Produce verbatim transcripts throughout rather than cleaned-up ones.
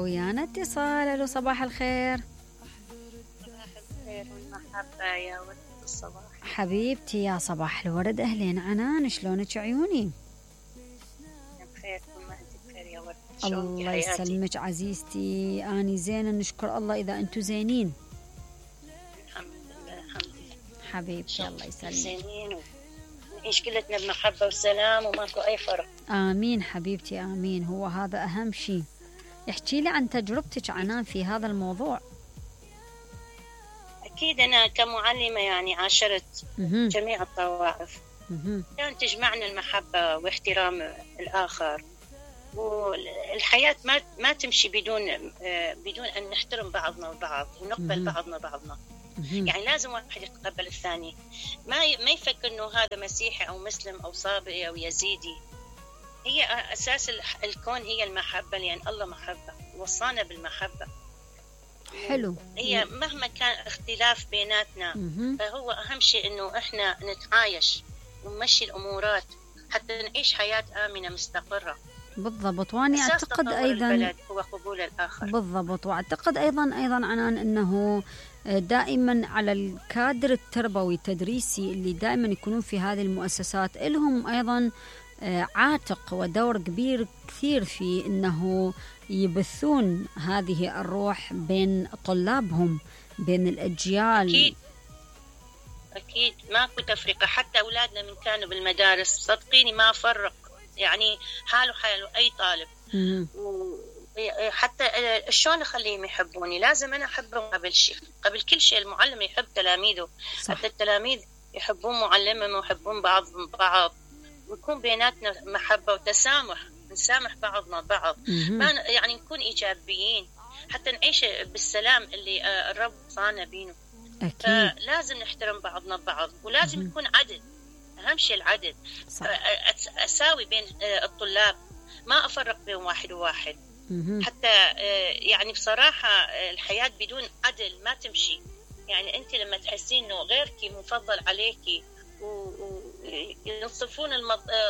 ويانا اتصال. الو صباح الخير. صباح الخير والمحبة يا ورد الصباح. حبيبتي يا صباح الورد، اهلين عنان، شلونك عيوني؟ بخير، كل ما انت بخير يا ورد. الله يسلمك عزيزتي، اني زينه نشكر الله. اذا انتم زينين الحمد لله. الحمد لله حبيبتي، الله يسلمك. زينين ونعيش كلتنا بمحبة وسلام وماكو اي فرق. امين حبيبتي امين، هو هذا اهم شيء. احكي لي عن تجربتك عنان في هذا الموضوع. اكيد انا كمعلمة يعني عاشرت مهم. جميع الطوائف، مهم. كان تجمعنا المحبة واحترام الآخر، والحياة ما ما تمشي بدون بدون أن نحترم بعضنا البعض ونقبل مهم. بعضنا بعضنا. مهم. يعني لازم واحد يتقبل الثاني، ما ما يفكر إنه هذا مسيحي أو مسلم أو صابئي أو يزيدي. هي أساس الكون هي المحبة، لأن الله محبة وصانا بالمحبة. حلو. هي مهما كان اختلاف بيناتنا، مهم. فهو أهم شيء إنه إحنا نتعايش ونمشي الأمورات حتى نعيش حياة آمنة مستقرة. بالضبط. واني أساس اعتقد تطور ايضا البلد هو قبول الآخر. بالضبط، واعتقد ايضا ايضا عنان انه دائما على الكادر التربوي التدريسي اللي دائما يكونون في هذه المؤسسات لهم ايضا عاتق ودور كبير كثير في انه يبثون هذه الروح بين طلابهم، بين الاجيال. أكيد أكيد ماكو تفرقة، حتى أولادنا من كانوا بالمدارس صدقيني ما فرق، يعني حاله حاله أي طالب. حتى شلون أخليهم يحبوني؟ لازم أنا أحبهم قبل شيء، قبل كل شيء. المعلم يحب تلاميذه، صح. حتى التلاميذ يحبون معلمهم ويحبون بعض بعض، ويكون بيناتنا محبة وتسامح، نسامح بعضنا بعض، ما يعني نكون إيجابيين حتى نعيش بالسلام اللي الرب صانا بينه. أكيد. لازم نحترم بعضنا بعض، ولازم يكون عدل، أهم شيء العدل. صح. أساوي بين الطلاب، ما أفرق بين واحد وواحد. حتى يعني بصراحة الحياة بدون عدل ما تمشي. يعني أنت لما تحسين إنه غيرك مفضل عليكي وينصفون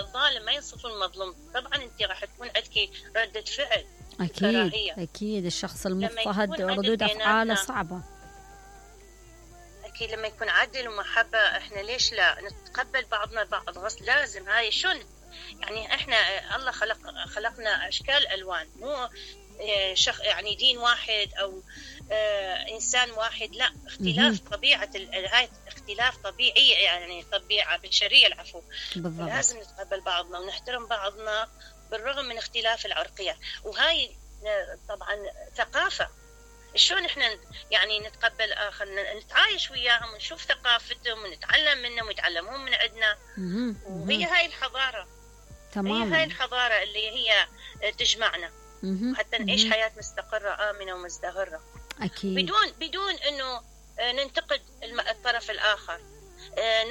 الظالم ما ينصفون المظلوم، طبعا أنت راح تكون عندك ردة فعل. أكيد كراهية. أكيد الشخص المضطهد ردود أفعاله صعبة. أكيد لما يكون عدل ومحبة، إحنا ليش لا نتقبل بعضنا بعض؟ غصب لازم. هاي شون يعني إحنا الله خلق خلقنا أشكال ألوان، مو شخ يعني دين واحد أو آه إنسان واحد، لا، اختلاف طبيعة هاي اختلاف طبيعي، يعني طبيعة بشرية العفو. بالضبط. لازم نتقبل بعضنا ونحترم بعضنا بالرغم من اختلاف العرقية، وهاي طبعا ثقافة. شلون احنا يعني نتقبل آخر، نتعايش وياهم ونشوف ثقافتهم ونتعلم منهم ويتعلمون من عندنا. وهي هاي الحضارة. تمام. هي هاي الحضارة اللي هي تجمعنا حتى نعيش حياة مستقرة آمنة ومزدهرة. أكيد. بدون بدون إنه ننتقد الطرف الآخر،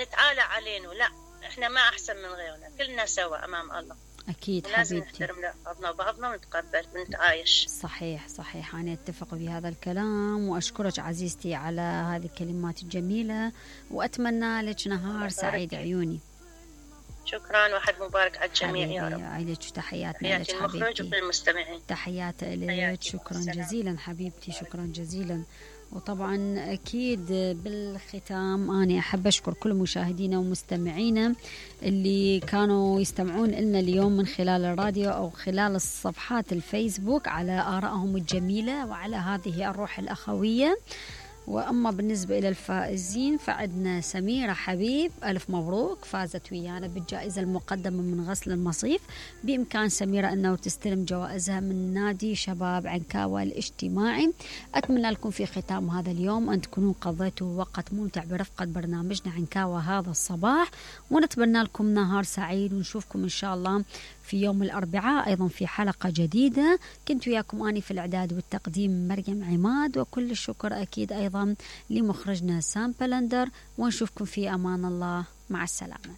نتعالى علينا، لا، إحنا ما أحسن من غيرنا، كلنا سوا أمام الله. أكيد لازم حبيبتي. نحترم بعضنا وبعضنا ونتقبل ونتعايش. صحيح صحيح، أنا أتفق بهذا الكلام، وأشكرك عزيزتي على هذه الكلمات الجميلة، وأتمنى لك نهار سعيد عيوني. شكرا، واحد مبارك على الجميع يا رب. عليك تحياتنا لك حبيبتي، المخرج وللمستمعين تحيات لك. شكرا جزيلا حبيبتي، شكرا جزيلا. وطبعا أكيد بالختام أنا أحب أشكر كل مشاهدينا ومستمعينا اللي كانوا يستمعون لنا اليوم من خلال الراديو أو خلال الصفحات الفيسبوك على آرائهم الجميلة وعلى هذه الروح الأخوية. وأما بالنسبة إلى الفائزين فعندنا سميرة حبيب، ألف مبروك، فازت ويانا بالجائزة المقدمة من غسل المصيف. بإمكان سميرة أنه تستلم جوائزها من نادي شباب عنكاوة الاجتماعي. أتمنى لكم في ختام هذا اليوم أن تكونوا قضيتوا وقت ممتع برفقة برنامجنا عنكاوة هذا الصباح، ونتمنى لكم نهار سعيد، ونشوفكم إن شاء الله في يوم الأربعاء أيضا في حلقة جديدة. كنت وياكم أني في الإعداد والتقديم مريم عماد، وكل الشكر أكيد أيضا لمخرجنا سام بلندر، ونشوفكم في أمان الله، مع السلامة.